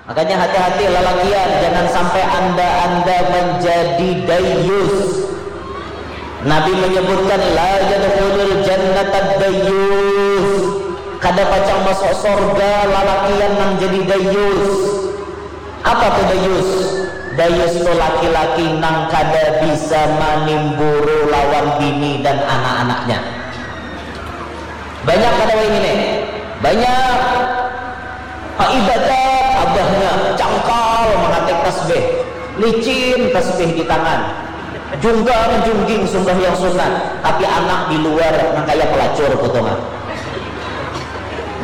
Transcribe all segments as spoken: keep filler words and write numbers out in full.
Makanya hati-hati lalakian, jangan sampai anda-anda menjadi dayus. Nabi menyebutkan, "La yadkhulul jannata dayus." Kada pacang masuk sorga lalakian nang jadi dayus. Apa tu dayus? Dayus tu laki-laki nang kada bisa manimburu lawan bini dan anak-anaknya. Banyak kada ini nih? Banyak. Paibadat abahnya, cangkal mangatik tasbih, licin tasbih di tangan, junggang jungging sumbahyang sunat, tapi anak di luar nang kaya pelacur putungan.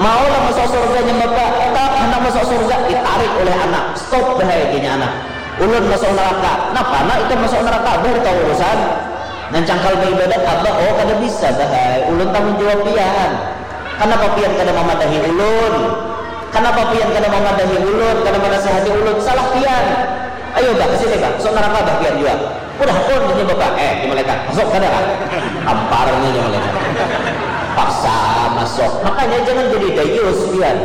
Mau lah masuk surga nya bapak, tak hendak masuk surga, ditarik oleh anak, stop bahaya gini anak. Ulun masuk neraka, napa anak ikam masuk neraka, abah tahu urusan. Nang cangkal beribadat abah, oh kada bisa bahai, ulun tanggung jawab pian. Kanapa pian kada mamadahi ulun? Kanapa pian kada mamadahi ulun? Kada manasihati ulun? Salah pian. Ayo bah, kesini bah, sok neraka bah pian jua. Udah pun ini bapak, eh di malaikat, masuk kada lah. Tamparnya di malaikat. Paksa masuk. Makanya jangan jadi dayus pian.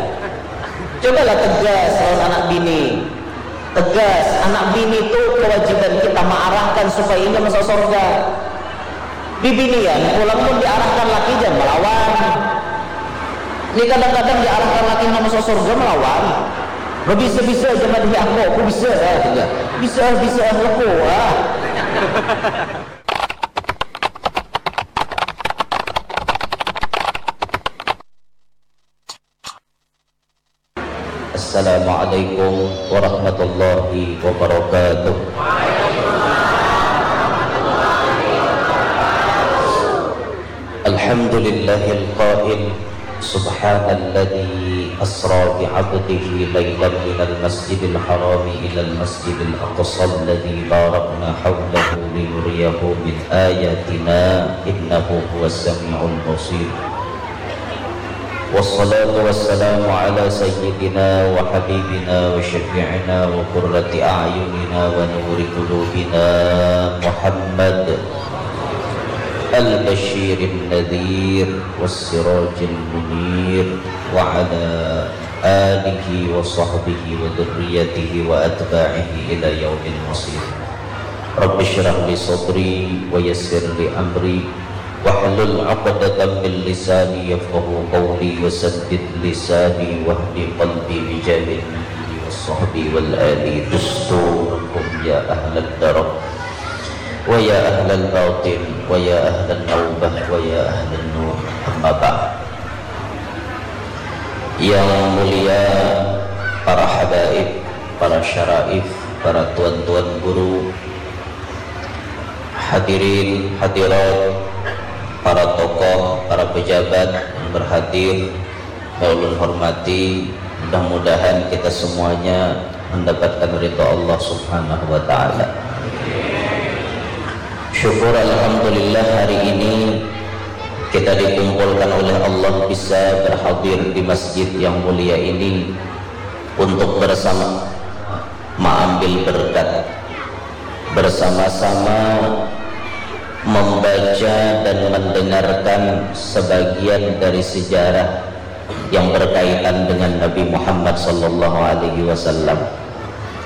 Cobalah tegas lawan anak bini. Tegas, anak bini tu kewajiban kita maarahkan supaya inya masuk surga. Bibinian pulang mun diarahkan laki jangan melawan. Ni kadang-kadang diarahkan laki nang masuk surga melawan. Babisa-bisa aja madahi aku, aku bisa ya juga. Bisa, bisa, aku ah. Assalamualaikum warahmatullahi wabarakatuh. Alhamdulillahil qail, subhanalladzi asra bi 'abdihi lailan minal masjidil harami ilal masjidil aqsa alladzi barakna haulahu linuriyahu min ayatina innahu huwas samiul basir. Wassalatu wassalamu ala sayyidina wa habibina wa syafi'ina wa qurrati a'yunina wa nuri qulubina Muhammad al-basyirin nadhir was sirajil munir wa ala alihi wa sahbihi wa dzurriyyatihi wa atba'ihi ila yaumil masir. Rabbi syrah li sadri wa yassir li amri wahlul 'uqdatam min lisani yafqahu qawli wa saddid lisani wahdi qalbi bi jahin nabiyyi was sahbi wal ali dusturukum ya ahlan darab wa ya ahlal batin wa ya ahlan naubah wa ya ahlan nur, amma ba'd. Yang mulia para habaib, para syaraif, para tuan-tuan guru, hadirin hadirat, para tokoh, para pejabat yang berhadir, yang ulun hormati, mudah-mudahan kita semuanya mendapatkan ridha Allah Subhanahu wa taala. Syukur alhamdulillah hari ini kita dikumpulkan oleh Allah bisa berhadir di masjid yang mulia ini untuk bersama maambil berkat, bersama-sama membaca dan mendengarkan sebagian dari sejarah yang berkaitan dengan Nabi Muhammad sallallahu alaihi wasallam.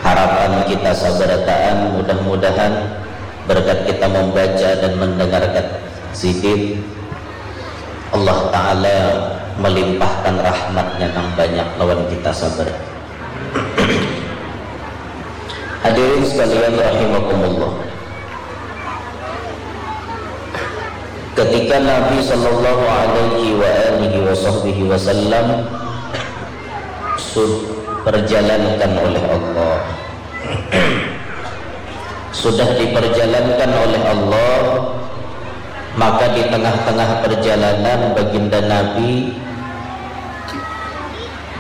Harapan kita sabarataan mudah-mudahan berkat kita membaca dan mendengarkan sidin, Allah Ta'ala melimpahkan rahmatnya nang banyak lawan kita sabar. Hadirin sekalian rahimakumullah. Ketika Nabi sallallahu alaihi wa alihi wa sahbihi wasallam sud- perjalankan oleh Allah. Sudah diperjalankan oleh Allah, maka di tengah-tengah perjalanan baginda Nabi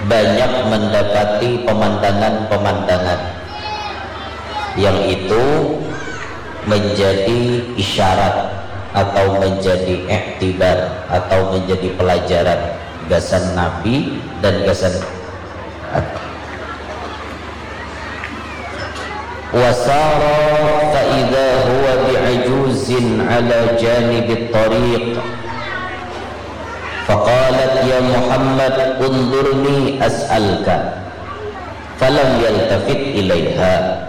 banyak mendapati pemandangan-pemandangan yang itu menjadi isyarat atau menjadi iktibar atau menjadi pelajaran gasan Nabi dan gasan wasara fa idza huwa bi'ajuzin ala janibit tariq. Faqalat, "Ya Muhammad, unzurni as'alka." Falam yaltafit ilaiha.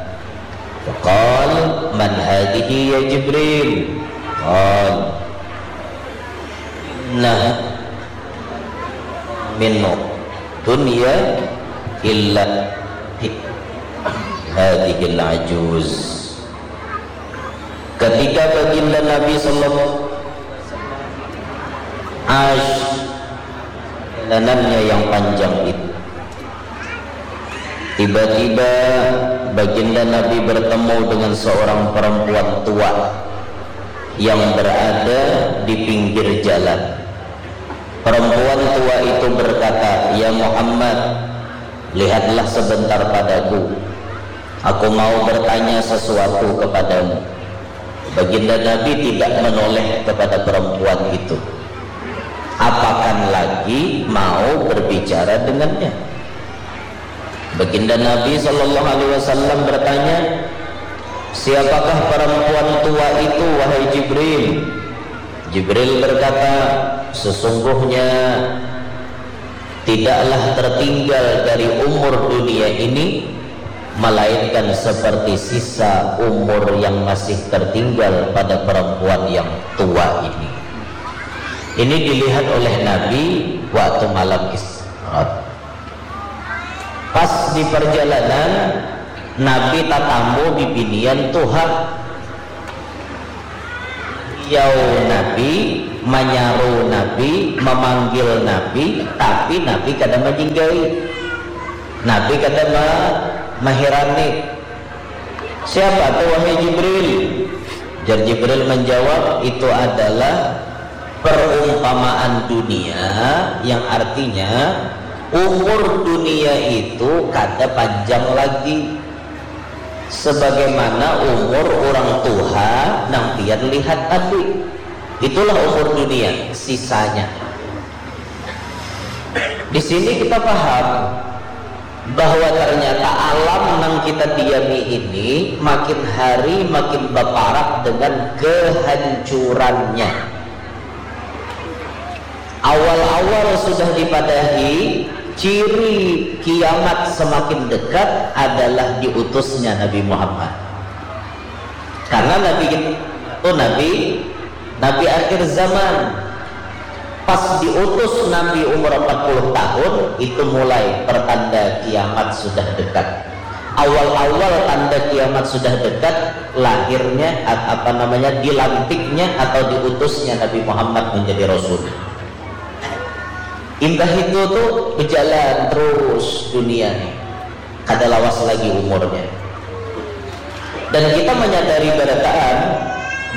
Faqal, "Man hadhihi ya Jibril?" Qal, "Nah min dunya illa hadhil ajuz." Ketika baginda Nabi sallallahu alaihi wasallam ash perjalanannya yang panjang itu, tiba-tiba baginda Nabi bertemu dengan seorang perempuan tua yang berada di pinggir jalan. Perempuan tua itu berkata, "Ya Muhammad, lihatlah sebentar padaku. Aku mau bertanya sesuatu kepadamu." Baginda Nabi tidak menoleh kepada perempuan itu. Apakan lagi mau berbicara dengannya. Baginda Nabi sallallahu alaihi wasallam bertanya, "Siapakah perempuan tua itu, wahai Jibril?" Jibril berkata, "Sesungguhnya tidaklah tertinggal dari umur dunia ini, melainkan seperti sisa umur yang masih tertinggal pada perempuan yang tua ini." Ini dilihat oleh Nabi waktu malam Isra. Pas di perjalanan, Nabi tatamu bibinian tuha. Yau Nabi, manyaru Nabi, mamanggil Nabi, tapi Nabi kada majinggai. Nabi kada ma-, mahirani. "Siapa tu, wahai Jibril?" Jar Jibril menjawab, "Itu adalah perumpamaan dunia yang artinya umur dunia itu kada panjang lagi. Sebagaimana umur orang tuha nang pian lihat tadi. Itulah umur dunia, sisanya." Di sini kita paham bahwa ternyata alam nang kita diami ini makin hari makin baparak dengan kehancurannya. Awal-awal sudah dipadahi, ciri kiamat semakin dekat adalah diutusnya Nabi Muhammad. Karena Nabi kita itu Nabi, Nabi akhir zaman. Pas diutus Nabi umur empat puluh tahun, itu mulai pertanda kiamat sudah dekat. Awal-awal tanda kiamat sudah dekat, lahirnya, at-, apa namanya, dilantiknya atau diutusnya Nabi Muhammad menjadi rasul. Imbah itu tuh berjalan terus dunia nih. Kada lawas lagi umurnya. Dan kita menyadari barataan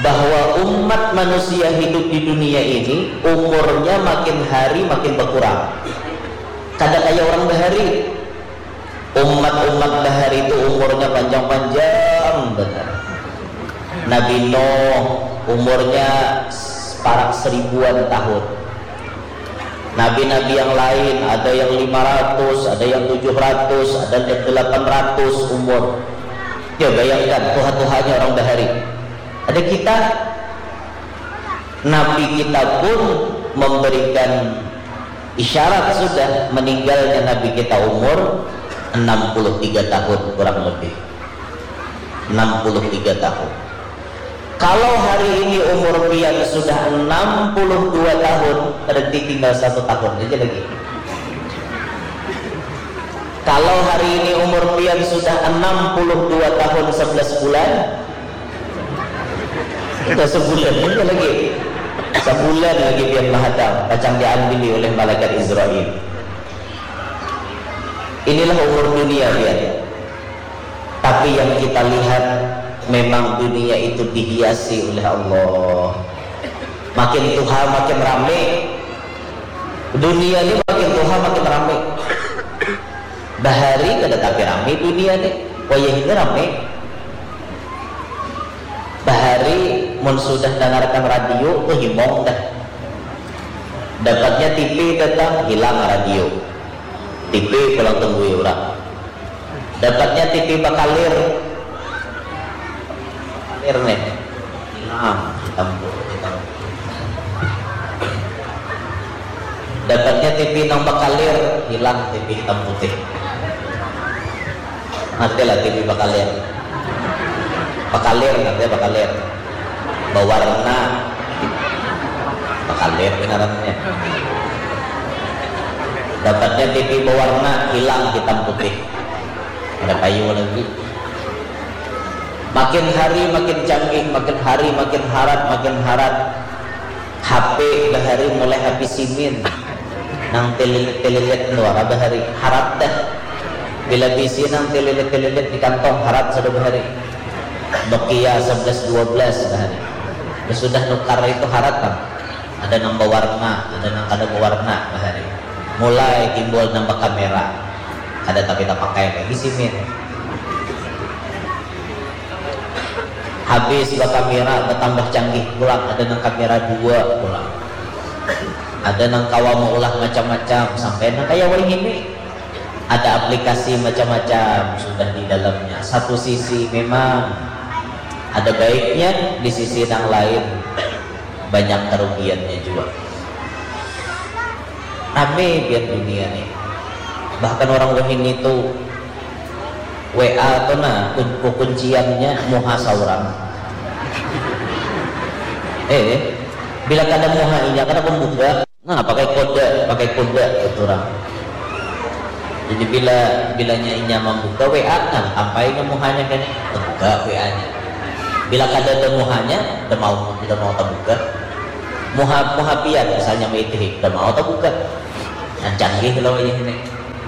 bahwa umat manusia hidup di dunia ini, umurnya makin hari makin berkurang. Kada kaya orang bahari. Umat-umat bahari itu umurnya panjang-panjang banar. Nabi Nuh umurnya parak seribuan tahun. Nabi-nabi yang lain, ada yang lima ratus, ada yang tujuh ratus, ada yang delapan ratus umur. Ya, bayangkan tuha-tuhanya orang bahari. Ada kita, Nabi kita pun memberikan isyarat sudah meninggalnya Nabi kita umur enam puluh tiga tahun kurang lebih. Enam puluh tiga tahun. Kalau hari ini umur pian sudah enam puluh dua tahun, berarti tinggal satu tahun aja lagi. Kalau hari ini umur pian sudah enam puluh dua tahun sebelas bulan, sudah sebulan aja lagi. Sebulan lagi pian mahadang, pacang diambili oleh malaikat Israel. Inilah umur dunia pian. Tapi yang kita lihat, memang dunia itu dihiasi oleh Allah. Makin tuha, makin rame. Dunia ini makin tuha, makin rame. Bahari kada tapi rame dunia nih. Wayah ini rame. Bahari mun sudah dengarkan radio, tuh himong dah. Dapatnya T V datang, hilang radio. T V pulang tunggui urang. Dapatnya T V bakalir. Bakalir nih. Hilang, hitam putih, hitam putih. Dapatnya T V nang bakalir, hilang T V hitam putih. Ngerti lah T V bakalir. Bakalir, ngerti bakalir. Bawarna. Bakalir ngarannya. Dapatnya T V bawarna hilang hitam putih. Ada kayu lagi. Makin hari makin canggih, makin hari makin harat, makin harat. H P bahari mulai H P simin. Nang tililit-tililit tu wara bahari. Harat dah. Bila bisi nang tililit-tililit di kantong, harat sudah bahari. Nokia sebelas dua belas bahari. Sudah nukar itu harat kan. Ada nang bawarna, ada nang kada bawarna bahari. Mulai timbul nang bakamera. Kada tapi tapakai lagi simin. Habis bakamera, batambah canggih pulang, ada nang kamera dua pulang. Ada nang kawa maulah macam-macam, sampai nang kaya wahini. Ada aplikasi macam-macam sudah di dalamnya. Satu sisi memang ada baiknya, di sisi nang lain banyak kerugiannya jua. Rame pian dunia nih. Bahkan orang wahini tu W A tu nah, kun-, kukunciannya muha saurang. Eh, bila kada muha inya kada pembuka. Nah, pakai kode, pakai kode kata urang. Jadi bila, bilanya inya mambuka W A, nah, tampai inya muhanya kene, tabuka W A-nya. Bila kadada muhanya, da mau, da mau tabuka. Muha, muha pian misalnya maitihi, da mau tabuka. Nah, canggih lah wayah ini.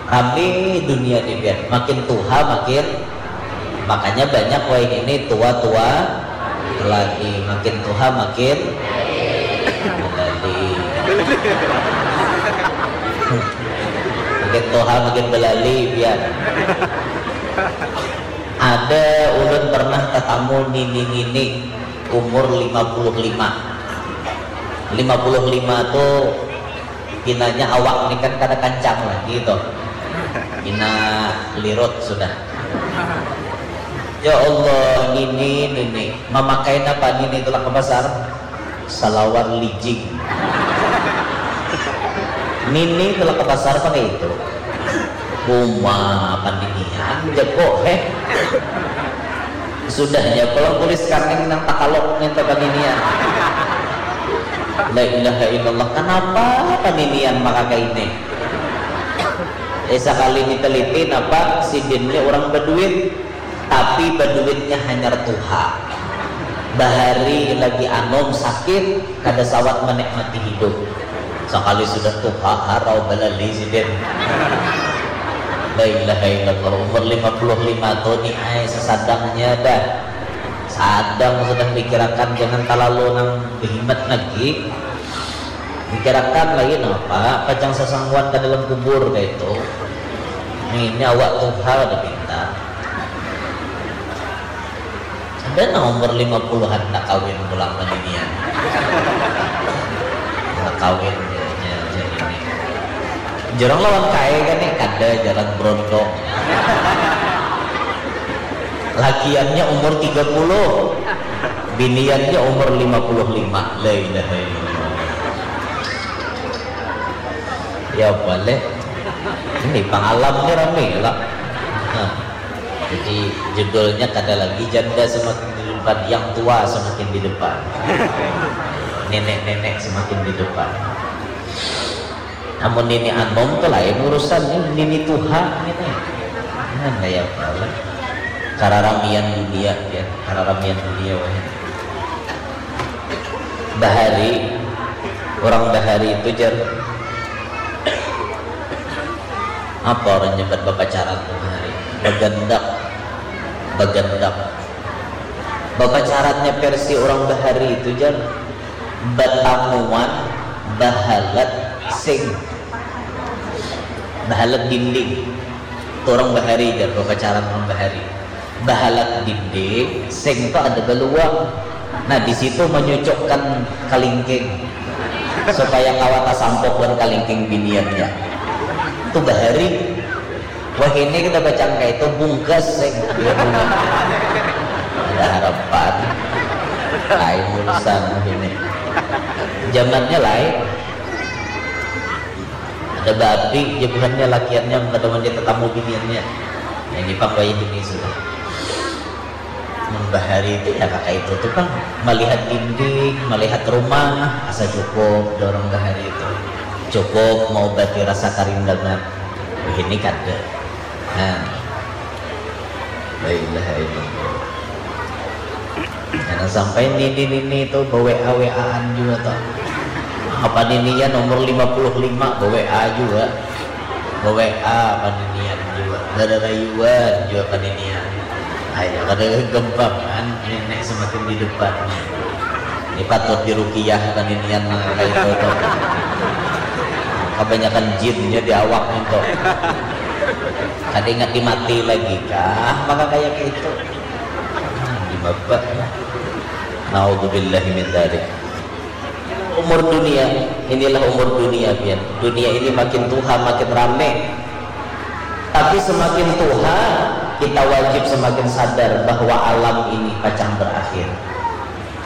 Rami dunia ni pian, makin tuha makin, makanya banyak wayah ini tua-tua lagi, makin tuha makin belali. Makin tuha makin belali pian. Ada ulun pernah tatamu nini-nini umur lima puluh lima. Lima puluh lima tu pinanya awak ni kan kada kancang lagi tu. Pina lirut sudah. Ya Allah, nini, nini. Mamakai napa nini tulak ka pasar? Salawar lijing. Nini tulak ka pasar pakai itu. Uma paninian jago, heh. Sudahnya pulang tulis kaning nang takalok minta paninian. La ilaha illallah, kanapa paninian maka kaini? Eh, sakali ni teliti napa sidin ni urang baduit, tapi baduitnya hanyar tuha. Bahari lagi anum sakit, kada sawat manikmati hidup. Sakali sudah tuha, harau balali sidin. La ilaha illallah, umur lima puluh lima tahun ni ai, sasadangnya dah. Sadang sudah pikirakan, jangan talalu nang bahimat lagi. Pikirakan lagi napa, pacang sasangguan ka dalam kubur kaitu. Ini awak tuha kada pintar. Ada nang umur lima puluhan handak kawin pulang paninian. Handak kawin, jar, jar, jar ini. Jar urang lawan kai kan ni, kada, jalan berondong. Lakiannya umur tiga puluh, biniannya umur lima puluh lima. La ilaha illallah. Ya boleh. Ini pang alam ni rami lah. Nah. Jadi judulnya kada lagi janda semakin di depan, yang tua semakin di depan. Nenek-nenek semakin di depan. Amun nini anum tu lain urusan, ni nini tuha ngini. Nah, kaya apa lah? Kararamian dunia, ya, kararamian dunia wahini. Bahari, urang bahari itu, jar, apa urang nyambat bapacaran tu bahari? Bagandak, bagandak. Bapacarannya versi urang bahari itu, jar, batamuan bahalat sing, bahalat dinding. Tu urang bahari, jar, bapacaran urang bahari. Bahalat dinding, sing tu ada baluang. Nah, di situ manyucukkan kalingking supaya kawa tasampuk wan kalingking biniannya. Tu bahari. Wahini kada bacangka itu, bungkas sing. Ada harapan. Lain urusan wahini. Jamannya lain. Ada baapi, jar buhannya, lakiannya kada mandi tatamu biniannya. Ini pang wayah ini sudah. Mun bahari itu ya kakak itu tuh kan melihat dinding, melihat rumah, asa cukup dorong bahari itu. Cukup mengobati rasa karindangan. Wah, ini kada. Nah. La ilaha illallah. Jangan sampai nini-nini itu be-WA-WA-an juga tuh. Apa nininya nomor lima puluh lima be-WA juga. Be-WA paninian jua, bararayuan jua paninian. Ayo, kada gampang kan, nenek semakin di depan. Ini patut dirukiah paninian nang kaya itu tu. Kabanyakan jinnya di awak itu. Kada ingat dimati lagi kah, maka kaya itu. Di babak. Naudzubillahi min dzalik. Umur dunia, inilah umur dunia pian. Dunia ini makin tuha makin rame. Tapi semakin tuha, kita wajib semakin sadar bahwa alam ini pacang berakhir.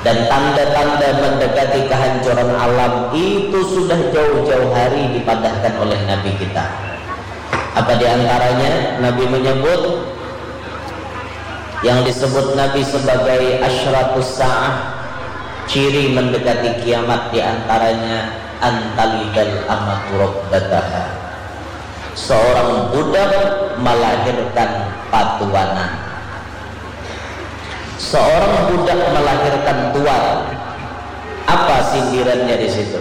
Dan tanda-tanda mendekati kehancuran alam itu sudah jauh-jauh hari dipadahkan oleh Nabi kita. Apa diantaranya? Nabi menyebut yang disebut Nabi sebagai asyratus sa'ah, ciri mendekati kiamat diantaranya antalidal amatu rabbataha. Seorang budak melahirkan patuanan. Seorang budak melahirkan tuan. Apa sindirannya di situ?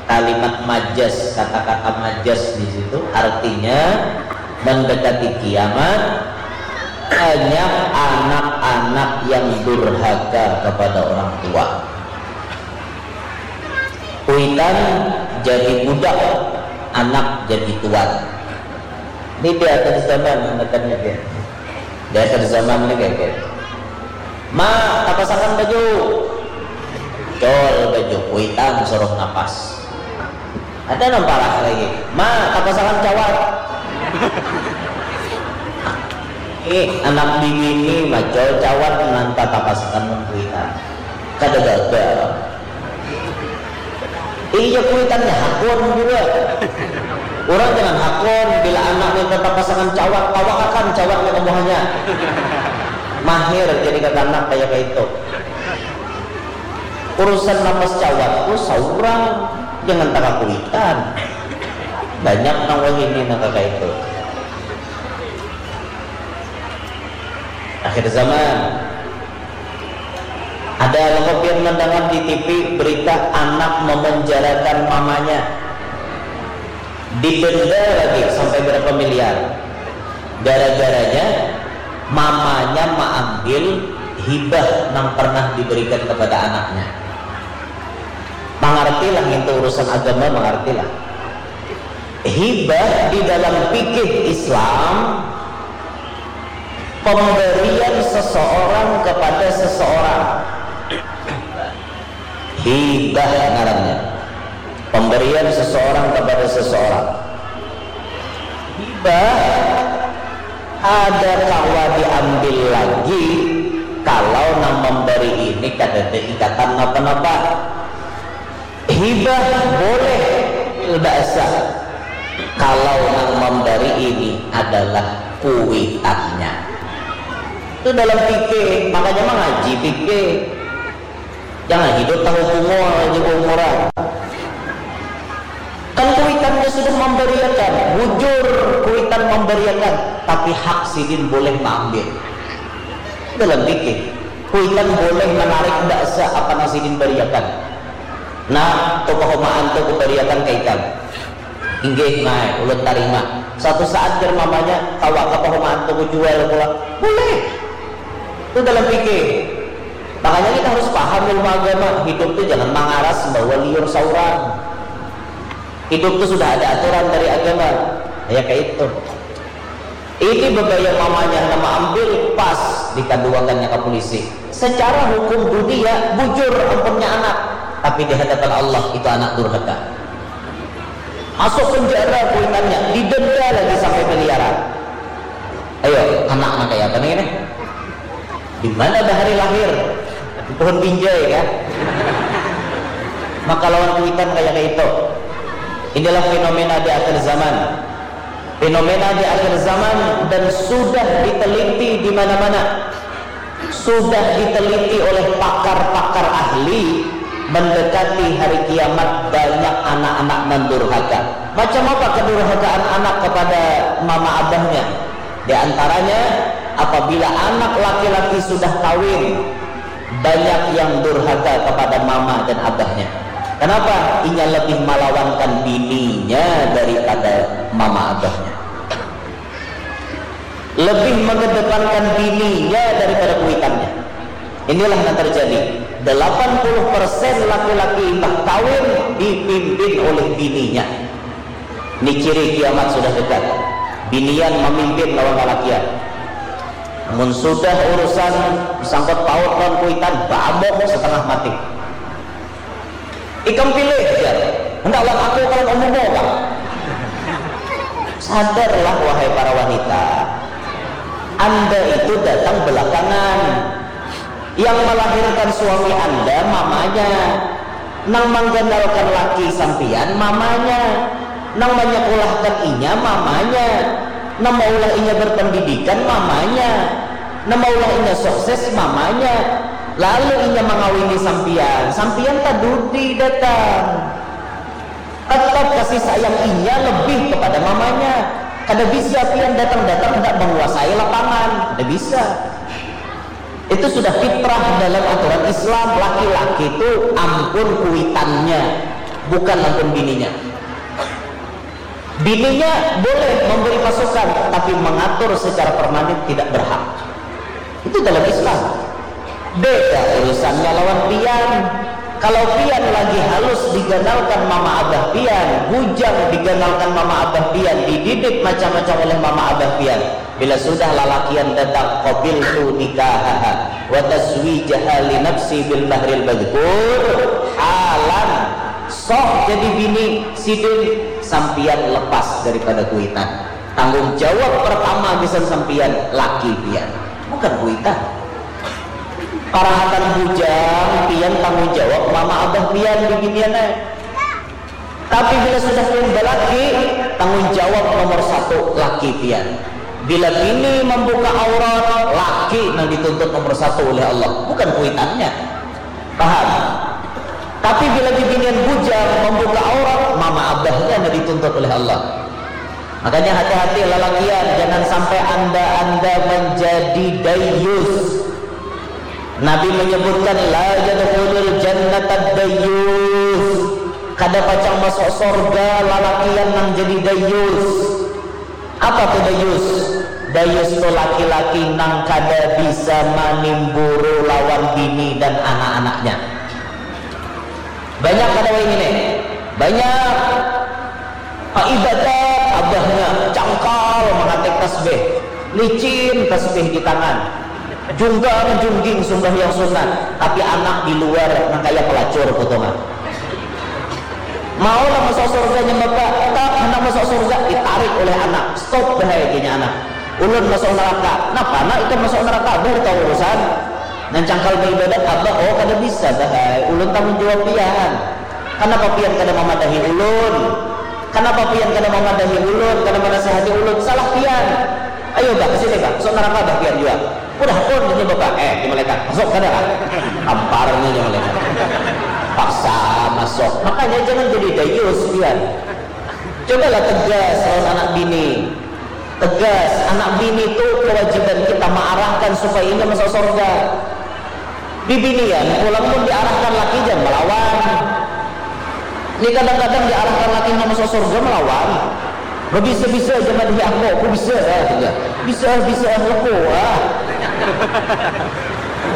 Kalimat majas, kata-kata majas di situ artinya mendekati kiamat, banyak anak-anak yang durhaka kepada orang tua. Kuitan jadi budak, anak jadi tuan. Ini di akhir zaman anakannya dia. Di akhir zaman ini kayak gitu. Ma, tapasakan baju. Col baju, kuitan suruh napas. Ada nang parah lagi. Ma, tapasakan cawat. Ih, anak bini ni macol cawat nanta tapasakan mun kuitan. Kada gagal. Iya, kuitannya hakun juga. Orang jangan hakun, bila anak minta tapasakan cawat, tawakakan cawatnya ke muhanya. Mahir jadi kakanak kayak itu. Urusan napas cawat tu saurang, jangan taka kuitan. Banyak nang wahini nang kaka itu. Akhir zaman. Ada lo pian mendengar di T V berita anak memenjarakan mamanya, didenda lagi sampai berapa miliar. Gara-garanya mamanya maambil hibah nang pernah diberikan kepada anaknya. Mangartilah ngintu urusan agama, mangartilah. Hibah di dalam fikih Islam pemberian seseorang kepada seseorang. Hibah ngarannya. Pemberian seseorang kepada seseorang. Hibah ada kawa diambil lagi kalau nang memberi ini kadada ikatan napa-napa. Hibah boleh bahasa kalau nang memberi ini adalah kuitannya. Itu dalam fikih, makanya mengaji fikih. Jangan hidup tahu pungur aja umuran. Kan kuitannya sudah memberiakan, bujur kuitan memberiakan, tapi hak sidin boleh mengambil. Dalam fikih, kuitan boleh menarik bahasa apa nang sidin beriakan. Nah, tu pahumaan tu kubariakan ka ikam. Inggih, Mai, ulun tarima. Suatu saat jar mamanya, kawa ka pahumaan tu kujual pulang. Boleh. Itu dalam fikih. Makanya kita harus paham ilmu agama. Hidup tu jangan mangaras bawa liur saurang. Hidup tu sudah ada aturan dari agama. Ya kayak itu. Ini bebaya mamanya nama ambil pas dikaduakannya ke polisi. Secara hukum dunia bujur ampunnya anak, tapi di hadapan Allah itu anak durhaka. Masuk penjara kuitannya, didenda lagi sampai miliaran. Ayo, anak anak kayak apa nih? Di mana bahari lahir? Di pohon binjai kan? Maka lawan kuitan kayak itu. Inilah fenomena di akhir zaman. Fenomena di akhir zaman dan sudah diteliti di mana-mana, sudah diteliti oleh pakar-pakar ahli, mendekati hari kiamat banyak anak-anak mendurhaka. Macam apa kedurhakaan anak kepada mama abahnya? Di antaranya, apabila anak laki-laki sudah kawin, banyak yang durhaka kepada mama dan abahnya. Kenapa? Inya lebih malawankan bininya daripada mama abahnya. Lebih mengedepankan bininya daripada kuitannya. Inilah yang terjadi. Delapan puluh persen laki-laki imbah kawin dipimpin oleh bininya. Ini ciri kiamat sudah dekat. Binian memimpin lawan lalakian. Mun sudah urusan sangkut paut lawan kuitan, baamuk setengah mati. Ikam pilih, jar. Hendak lawan aku, kalian umum kah? Sadarlah, wahai para wanita. Anda itu datang belakangan. Yang melahirkan suami Anda mamanya. Nang mangganalkan laki sampian mamanya. Nang manyakulahkan inya mamanya. Nang maulah inya berpendidikan mamanya. Nang maulah inya sukses mamanya. Lalu inya mangawini sampian, sampian tadudi datang. Tetap kasih sayang inya lebih kepada mamanya. Kada bisa pian datang-datang hendak menguasai lapangan, kada bisa. Itu sudah fitrah dalam aturan Islam. Laki-laki itu ampun kuitannya, bukan ampun bininya. Bininya boleh memberi masukan, tapi mengatur secara permanen tidak berhak. Itu dalam Islam. Beda urusannya lawan pian. Kalau pian lagi halus diganalkan mama abah pian, bujang diganalkan mama abah pian, dididik macam-macam oleh mama abah pian. Bila sudah lalakian datang, qabiltu nikahaha wa tazwijaha li nafsi bil mahril madhkur, halan, soh jadi bini sidin, sampian lepas daripada kuitan. Tanggung jawab pertama gasan sampian laki pian, bukan kuitan. Parahatan bujang pian tanggung jawab mama abah pian di binian ai. Tapi bila sudah pian balaki, tanggung jawab nomor satu laki pian. Bila bini membuka aurat, laki nang dituntut nomor satu oleh Allah, bukan kuitannya. Paham? Tapi bila bibinian bujang membuka aurat, mama abahnya nang dituntut oleh Allah. Makanya hati-hati lalakian, jangan sampai anda-anda menjadi dayus. Nabi menyebutkan, la yadkhulul jannata dayus. Kada pacang masuk sorga lalakian nang jadi dayus. Apa tu dayus? Dayus tu laki-laki nang kada bisa manimburu lawan bini dan anak-anaknya. Banyak kada wahini nih? Banyak. Paibadat abahnya, cangkal mangatik tasbih, licin tasbih di tangan, junggang jungging sumbahyang sunat, tapi anak di luar nang kaya pelacur potongan. Mau lah masuk surga nya bapak? Tak handak masuk surga, ditarik oleh anak. Stop bahaya gini anak. Ulun masuk neraka. Napa nak ikam masuk neraka? Abah tahu urusan. Nang cangkal beribadat abah, oh kada bisa bahai. Ulun tanggung jawab pian. Kenapa pian kada memadahi ulun? Kenapa pian kada memadahi ulun? Kada menasihati ulun? Salah pian. Ayo bah, ke sini bah. Masuk neraka bah pian juga. Udah pun ini bapak. Eh, di malaikat. Masuk kada lah. Amparnya di malaikat. Paksa masuk. Makanya jangan jadi dayus pian. Cobalah tegas lawan anak bini. Tegas, anak bini tu kewajiban kita maarahkan supaya inya masuk surga. Bibinian pulang mun diarahkan laki jangan malawan. Ni kadang-kadang diarahkan laki nang masuk surga malawan. Babisa-bisa aja madahi aku, aku bisa ah, gitu. Bisa, bisa, aku ah.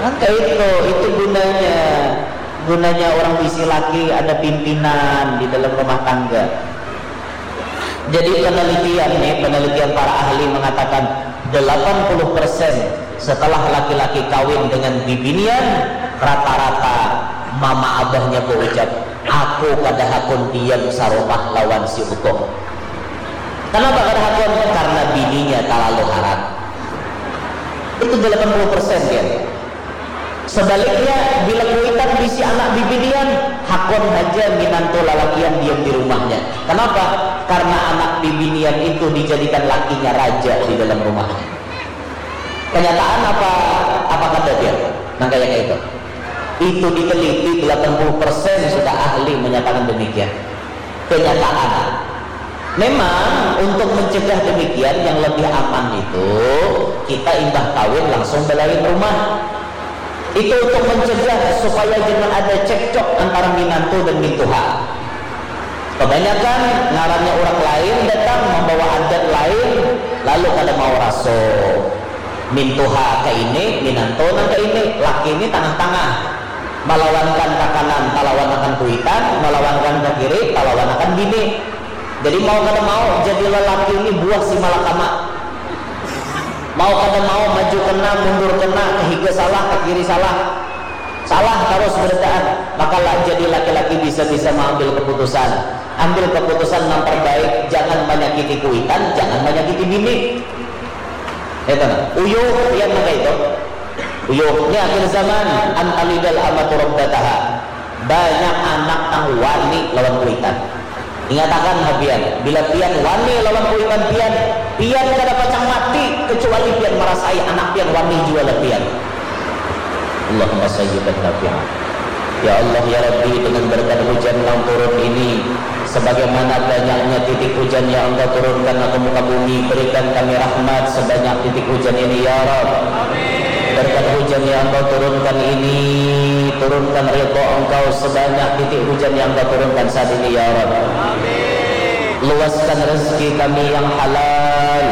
Kan kayak itu, itu gunanya. Gunanya orang bisi laki ada pimpinan di dalam rumah tangga. Jadi penelitian nih, penelitian para ahli mengatakan delapan puluh persen setelah laki-laki kawin dengan bibinian, rata-rata mama abahnya berucap, aku kada hakun diam sarumah lawan si utuh. Kenapa kada hakun? Karena bininya terlalu harat. Itu delapan puluh persen dia. Sebaliknya, bila kuitan bisi anak bibinian, hakun haja minantu lalakian diam di rumahnya. Kenapa? Karena anak bibinian itu dijadikan lakinya raja di dalam rumahnya. Kenyataan apa, apa kada dia? Nang kayak itu. Itu diteliti, delapan puluh persen sudah ahli menyatakan demikian. Kenyataan. Memang untuk mencegah demikian, yang lebih aman itu kita imbah kawin langsung belain rumah. Itu untuk mencegah supaya jangan ada cekcok antara minantu dan mintuha. Kebanyakan ngarannya orang lain datang membawa adat lain, lalu kada mau raso. Mintuha ke ini, minantu nang ke ini, laki ini tangah-tangah. Malawankan ke kanan, talawanakan kuitan, malawankan ke kiri, talawanakan bini. Jadi mau kada mau, jadi lelaki ini buah si malakama. Mau kada mau, maju kena, mundur kena, ke higa salah, ke kiri salah. Salah terus berataan. Maka lah, jadi laki-laki bisa-bisa mengambil keputusan. Ambil keputusan yang terbaik, jangan menyakiti kuitan, jangan menyakiti bini. Itu nah. Uyuh, pian maka itu. Uyuh, ini akhir zaman, antalidal amatu rabbataha. Banyak anak nang wani lawan kuitan. Ingatakan ha pian, bila pian wani lawan kuitan pian, pian kada pacang mati kecuali pian marasai anak pian wani jua lah pian. Allahumma sayyiban nafi'an. Ya Allah, ya Rabbi, dengan berkat hujan yang turun ini, sebagaimana banyaknya titik hujan yang Engkau turunkan ke muka bumi, berikan kami rahmat sebanyak titik hujan ini, ya Rabb. Berkat hujan yang Engkau turunkan ini, turunkan ridha Engkau sebanyak titik hujan yang Engkau turunkan saat ini, ya Rabb. Luaskan rezeki kami yang halal,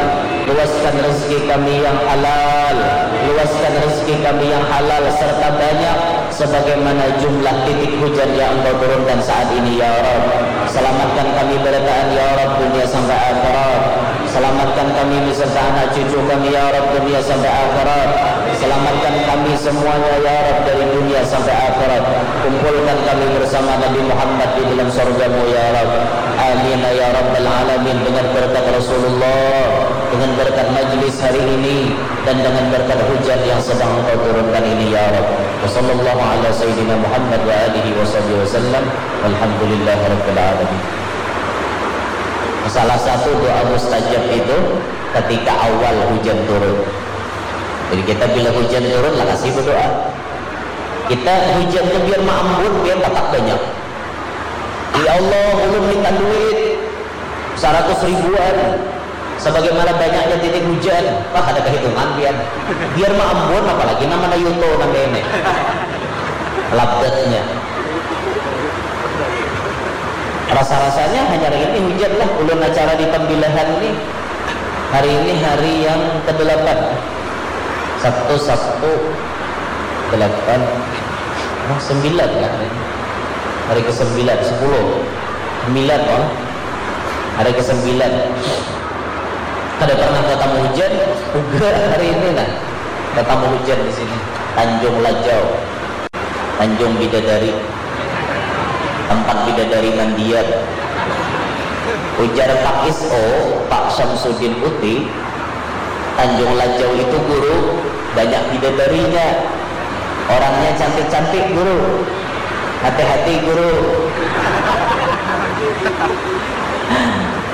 luaskan rezeki kami yang halal, luaskan rezeki kami yang halal serta banyak sebagaimana jumlah titik hujan yang Engkau turunkan saat ini, ya Rabb. Selamatkan kami berataan, ya Rabb, dunia sampai akhirat. Selamatkan kami beserta anak cucu kami, ya Rabb, dunia sampai akhirat. Selamatkan kami semuanya, ya Rabb, dari dunia sampai akhirat. Kumpulkan kami bersama Nabi Muhammad di dalam surga-Mu, ya Rabb. Amin, ya Rabbal Alamin. Dengan berkat Rasulullah, dengan berkat majlis hari ini, dan dengan berkat hujan yang sedang Engkau turunkan ini, ya Rabb. Wa sallallahu ala sayyidina Muhammad wa alihi wa sahbihi wa sallam. Walhamdulillahi rabbil alamin. Salah satu doa mustajab itu ketika awal hujan turun. Jadi kita bila hujan turun, lah kasi berdoa. Kita hujan tu biar maambun, biar patak banyak. Ya Allah, ulun minta duit saratus ribuan, sebagaimana banyaknya titik hujan. Wah, ada kehitungan pian. Biar maambun, apalagi namanya yuto nang ini. Labetnya. Rasa-rasanya hanya hari ini hujan lah. Ulun acara di Tembilahan ni. Hari ini hari yang kedelapan. Sabtu, Sabtu, delapan, oh, sembilan lah hari ini. Hari kesembilan, sepuluh, sembilan malah. Hari kesembilan. Kada pernah tatamu hujan, uga hari ini nah. Tatamu hujan di sini. Tanjung Lajau. Tanjung Bidadari, tempat bidadari mandian. Ujar Pak S O, Pak Syamsuddin Uti, Tanjung Lajau itu, Guru, banyak bidadarinya. Orangnya cantik-cantik, Guru. Hati-hati, Guru.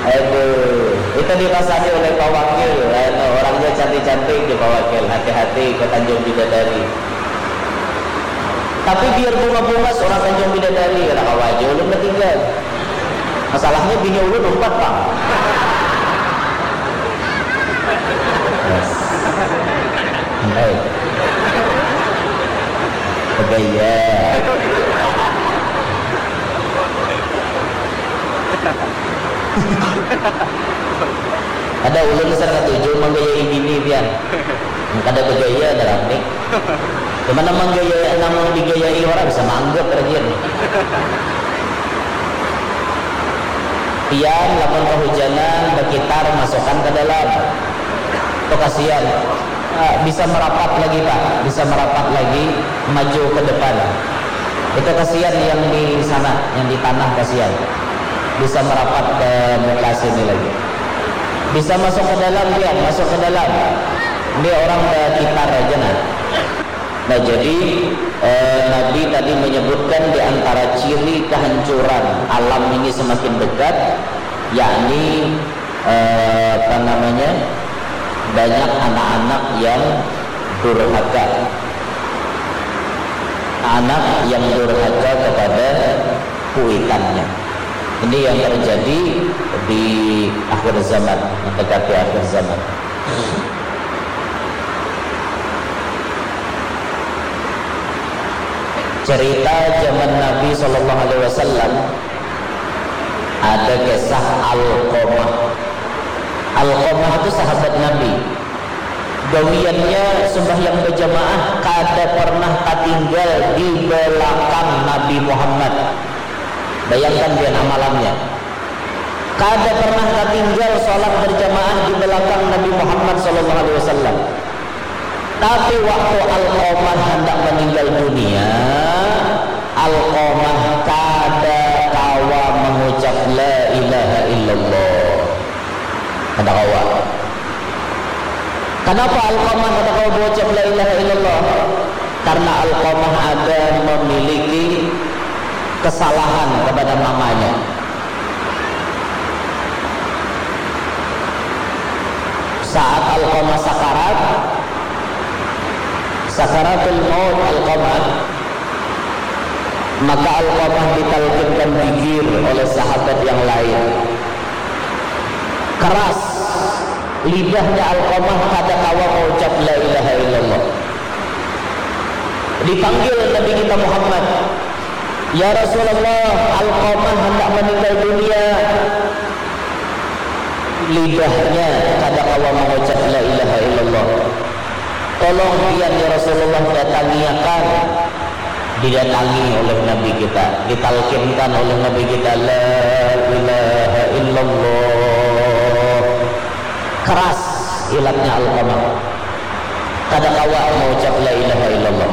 Aduh, itu dipasani oleh Pak Wakil. Anu, orangnya cantik-cantik di Pak Wakil. Hati-hati ke Tanjung Bidadari. Tapi biar bunga-bunga seorang Tanjung Bidadari, kada kawa aja ulun betinggal. Masalahnya bini ulun umpat pang. Yes. Baik. Begaya. Ada ulun dasar katuju manggayai bini pian. Kada bagaya ada rami. Gimana manggayai, namun digayai orang bisa maanggap rajin. Pian lamun kehujanan bakitar masukkan ke dalam. Itu kasihan. Ah, bisa merapat lagi, Pak, bisa merapat lagi, maju ke depan. Itu kasihan yang di sana, yang di tanah kasihan. Bisa merapat ke muka sini lagi. Bisa masuk ke dalam dia, masuk ke dalam. Ini orang bakitar aja nah. Nah, jadi eh, Nabi tadi menyebutkan di antara ciri kehancuran alam ini semakin dekat, yakni eh, apa namanya, Banyak anak-anak yang durhaka. Anak yang durhaka kepada kuitannya. Ini yang terjadi di akhir zaman, mendekati akhir zaman. Cerita zaman Nabi Sallallahu Alaihi Wasallam, ada kisah Alqamah. Alqamah itu sahabat Nabi. Gawiannya sembahyang berjamaah, kada pernah tatinggal di belakang Nabi Muhammad. Bayangkan pian amalannya. Kada pernah tatinggal salat berjamaah di belakang Nabi Muhammad Sallallahu Alaihi Wasallam. Tapi waktu Alqamah handak meninggal dunia, Alqamah kada kawa mengucap la ilaha illallah. Kada kawa. Kenapa Alqamah kada kawa mengucap la ilaha illallah? Karena Alqamah ada memiliki kesalahan kepada mamanya. Saat Alqamah sakarat, sakaratul maut Alqamah, maka Alqamah ditalkinkan zikir oleh sahabat yang lain. Keras lidahnya Alqamah, kada kawa mengucap la ilaha illallah. Dipanggil Nabi kita Muhammad, "Ya Rasulullah, Alqamah hendak meninggal dunia." Lidahnya kada kawa mengucap la ilaha illallah. "Tolong pian, ya Rasulullah, datangiakan." Didatangi oleh Nabi kita, ditalkinkan oleh Nabi kita, "La ilaha illallah." Keras ilatnya Alqamah. Kada kawa mengucap la ilaha illallah.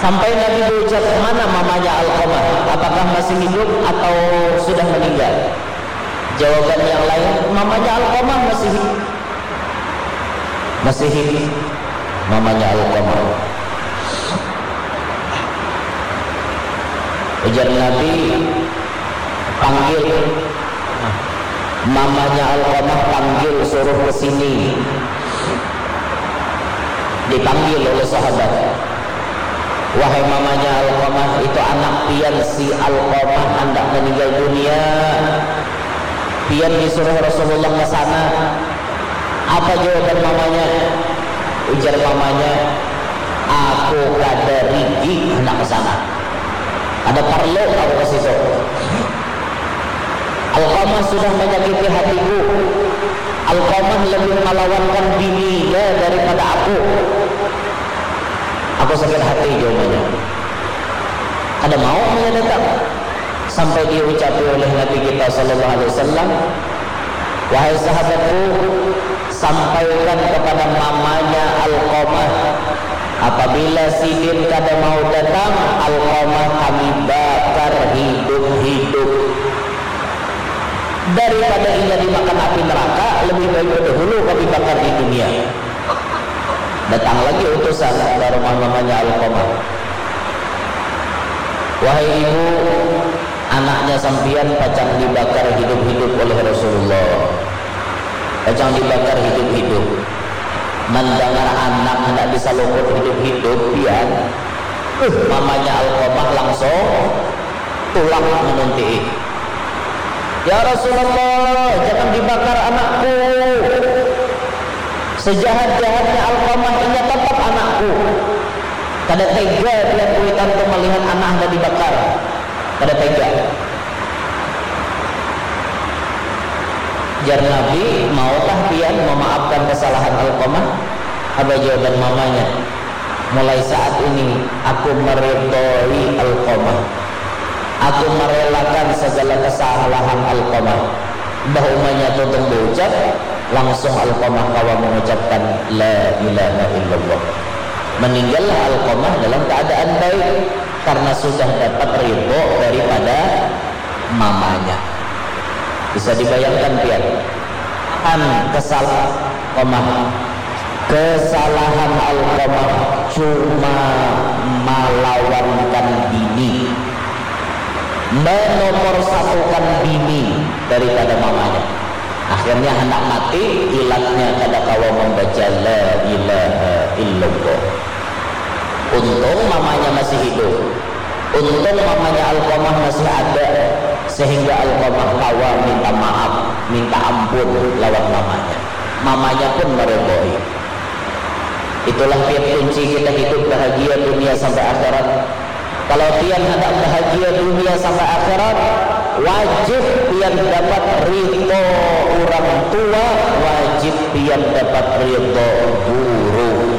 Sampai Nabi berucap, "Mana mamanya Alqamah? Apakah masih hidup atau sudah meninggal?" Jawaban yang lain, "Mamanya Alqamah masih hidup." Masih hidup mamanya Alqamah. Ujar Nabi, "Panggil mamanya Alqamah, panggil, suruh ke sini." Dipanggil oleh sahabat, "Wahai mamanya Alqamah, itu anak pian si Alqamah handak meninggal dunia. Pian disuruh Rasulullah ke sana." Apa jawaban mamanya? Ujar mamanya, "Aku kada rigi handak ke sana. Kada parlu aku ke situ. Alqamah sudah menyakiti hatiku. Alqamah lebih malawankan bininya daripada aku. Aku sakit hati," jawabannya. Kada mau mamanya datang. Sampai diucapi oleh Nabi kita Sallallahu Alaihi Wasallam, "Wahai sahabatku, sampaikan kepada mamanya Alqamah, apabila sidin kada mau datang, Alqamah kami bakar hidup-hidup. Daripada inya dimakan api neraka, lebih baik bedahulu kami bakar di dunia." Datang lagi utusan ka rumah mamanya Alqamah. "Wahai ibu, anaknya sampiyan pacang dibakar hidup-hidup oleh Rasulullah. Pacang dibakar hidup-hidup." Mandangar anak handak disalukut hidup-hidup, pian, uh, mamanya Alqamah langsung tulak manuntii. "Ya Rasulullah, jangan dibakar anakku. Sejahat-jahatnya Alqamah, inya tetap anakku. Kada tega pian kuitan tu melihat anak handak dibakar. Kada tega." Jar Nabi, "Maukah pian memaafkan kesalahan Alqamah?" Apa jawaban mamanya? "Mulai saat ini, aku meridhoi Alqamah. Aku merelakan segala kesalahan Alqamah." Bah umanya tuntung baucap, langsung Alqamah kawa mengucapkan la ilaha illallah. Meninggallah Alqamah dalam keadaan baik karena sudah dapat ridho daripada mamanya. Bisa dibayangkan pian, an kesal Alqamah. Kesalahan Alqamah cuma malawankan bini, menomor satukan bini daripada mamanya. Akhirnya handak mati, ilatnya kada kawa mambaca la ilaha illallah. Untung mamanya masih hidup. Untung mamanya Alqamah masih ada, sehingga Alqamah kawa minta maaf, minta ampun lawan mamanya. Mamanya pun meridoi. Itulah tiap kunci kita hidup bahagia dunia sampai akhirat. Kalau pian handak bahagia dunia sampai akhirat, wajib pian dapat ridho orang tua, wajib pian dapat ridho guru.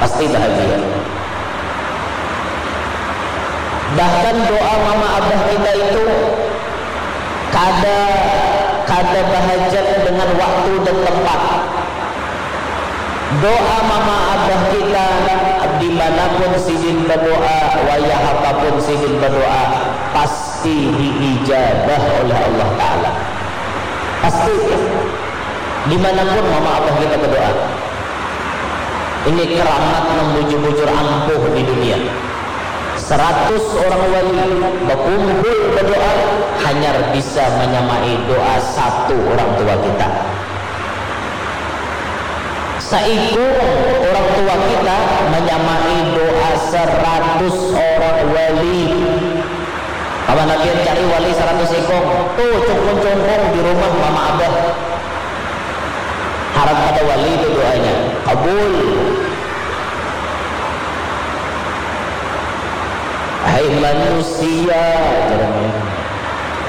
Pasti bahagia. Bahkan doa mama abah kita itu kada kada bahajat dengan waktu dan tempat. Doa mama abah kita, dimanapun sidin berdoa, wayah apapun sidin berdoa, pasti diijabah oleh Allah Ta'ala. Pasti. Dimanapun mama abah kita berdoa. Ini keramat nang bujur-bujur ampuh di dunia. Seratus orang wali bakumpul berdoa, hanyar bisa menyamai doa satu orang tua kita. Saikung orang tua kita menyamai doa seratus orang wali. Kapan pian cari wali seratus ikung? Tuh, cungkung-cungkung di rumah mama abah. Harap pada wali itu doanya. Kabul. Hai manusia, jarang